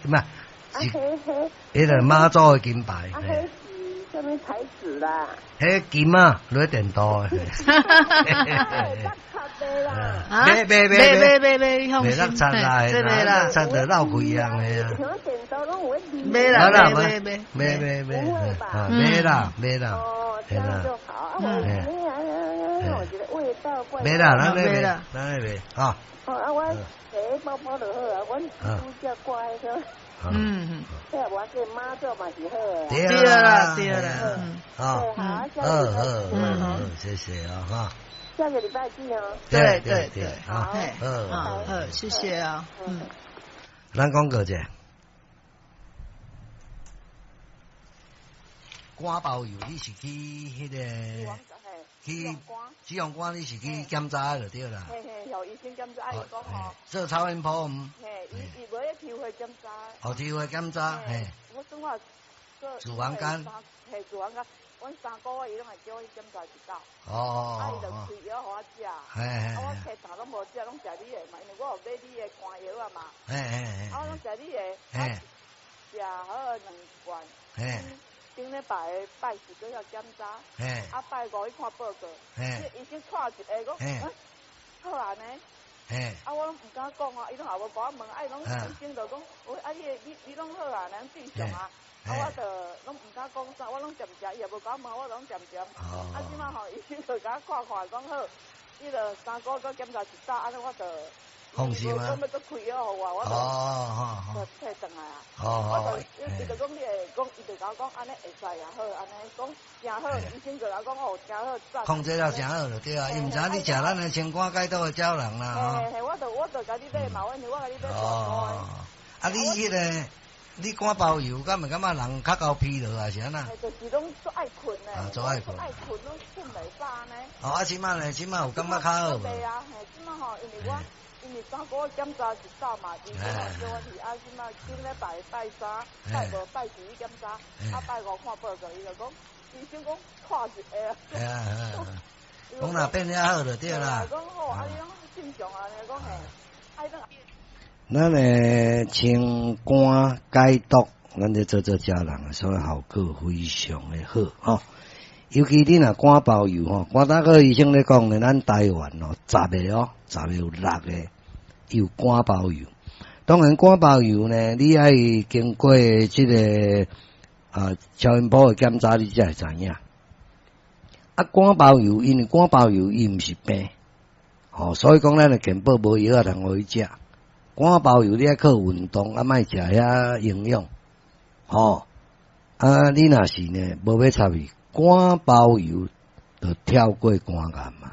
毋係，是彼个媽祖的金牌。啊，彼是啥物材質啦？彼金啊，落電鍍的。買買買買買買，你放心。袂落漆啦，這袂啦，漆就漏開樣的啊。買啦，買買買買買買，買啦買啦，哦，這樣就好。啊，我覺得味道怪。買啦，咱買啦，咱買啊。哦，啊，我提包包就好啊，阮拄則掛彼個。這我這媽祖嘛是好的。對啦，對啦。好，好，好，好，謝謝啊，哈。下個禮拜見哦。對對對，好，好，好，謝謝啊，嗯。咱講過者，肝包油你是去彼个去脂肪肝，你是去檢查就對啦。嘿嘿，予醫生檢查，伊講吼。做超音波毋？嘿，伊伊無咧抽血檢查。哦，抽血檢查，嘿。我算我做。脂肪肝。嘿，脂肪肝，阮3個月伊攏會叫我去檢查一擺。哦。啊，伊就開藥予我食。嘿。啊，我摕啥攏無食，攏食你的嘛，因為我有買你的肝藥啊嘛。嘿。啊，我攏食你的。嘿。食好兩罐。嘿。頂禮拜拜四閣遐檢查，啊拜五去看報告，醫生看一下講，好按呢，啊我攏毋敢講啊，伊攏也無共我問，啊伊攏醫生就講，喂啊你的你你攏好啊，咱正常啊，啊我就攏毋敢講啥，我攏恬恬，伊也無共我問，我攏恬恬，啊這擺吼醫生就共我看看講好，伊就3個月閣檢查一擺，按呢我就。放心啊！講欲閣開藥予我，我就就退轉來啊。我就伊就講你會講，伊就共我講按呢會使也好，按呢講誠好，醫生就共我講哦，誠好。控制了誠好就對啊，伊毋知影你食咱的清肝解毒的膠囊啦。嘿嘿，我就我就共你買嘛，我因為我共你買大罐的。啊，你彼个你肝包油，敢會感覺人較夠疲勞啊？是按怎？就是攏足愛睏的。啊，足愛睏。愛睏攏睏袂飽呢。哦，啊，這擺呢？這擺有感覺較好無？對啊，嘿，這擺吼，因為我。因為3個月檢查一擺嘛，醫生叫我去，啊，這擺頂禮拜拜三、拜五、拜四去檢查，啊，拜五看報告，伊就講，醫生講看一下。係啊係啊，講若變遐好就對啦。講好，啊，你攏正常啊，你講嘿，啊，咱的清肝解毒，咱咧做做食人，所以效果非常的好吼。尤其你若肝包油吼，肝膽科醫生咧講咧，咱台灣哦，十个哦，十个有六个有肝包油。當然，肝包油呢，你愛經過這个啊超音波的檢查，你才會知影。啊，肝包油因為肝包油伊毋是病，吼，所以講咱的健保無藥仔通予伊食。肝包油你愛靠運動，啊，莫食遐營養，吼。啊，你若是呢，無欲插伊，肝包油就跳過肝癌嘛。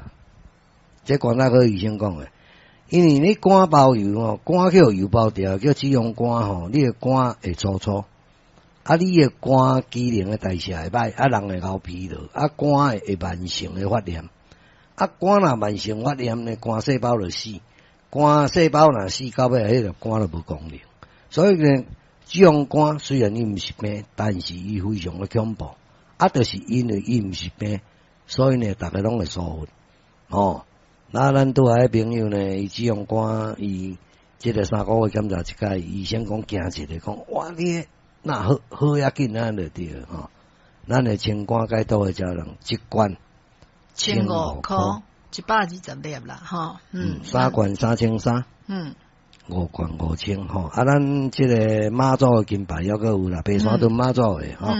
這肝膽科醫生講的，因為你肝包油吼，肝去予油包著，叫脂肪肝吼，你的肝會粗糙，啊，你的肝機能的代謝會歹，啊，人會流疲勞，啊，肝會慢性的發炎，啊，肝若慢性發炎呢，肝細胞就死，肝細胞若死到尾，彼個肝就無功能，所以呢，脂肪肝雖然伊毋是病，但是伊非常的恐怖，啊，就是因為伊毋是病，所以呢，逐家攏會疏忽，吼。那咱拄仔彼朋友呢，伊脂肪肝，伊這个3個月檢查一擺，醫生講驚一个，講哇你若好好遐緊啊，就對吼。咱的清肝解毒的膠囊一罐 15箍，120粒啦，吼。三罐3300，五罐5000吼。啊，咱這个媽祖的金牌猶閣有啦，白沙屯媽祖的吼。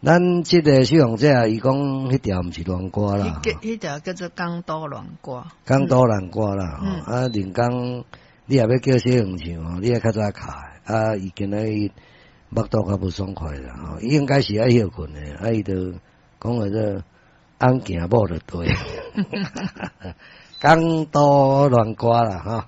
咱這个使用者，伊講彼條毋是亂歌啦，彼條叫做港都戀歌，港都戀歌啦。吼，啊，林剛，你若欲叫小紅唱吼，你愛較早敲，啊，伊今仔日腹肚較無爽快啦，吼，伊應該是愛歇睏的，啊，伊就講話做翁行某就對，港都戀歌啦，吼。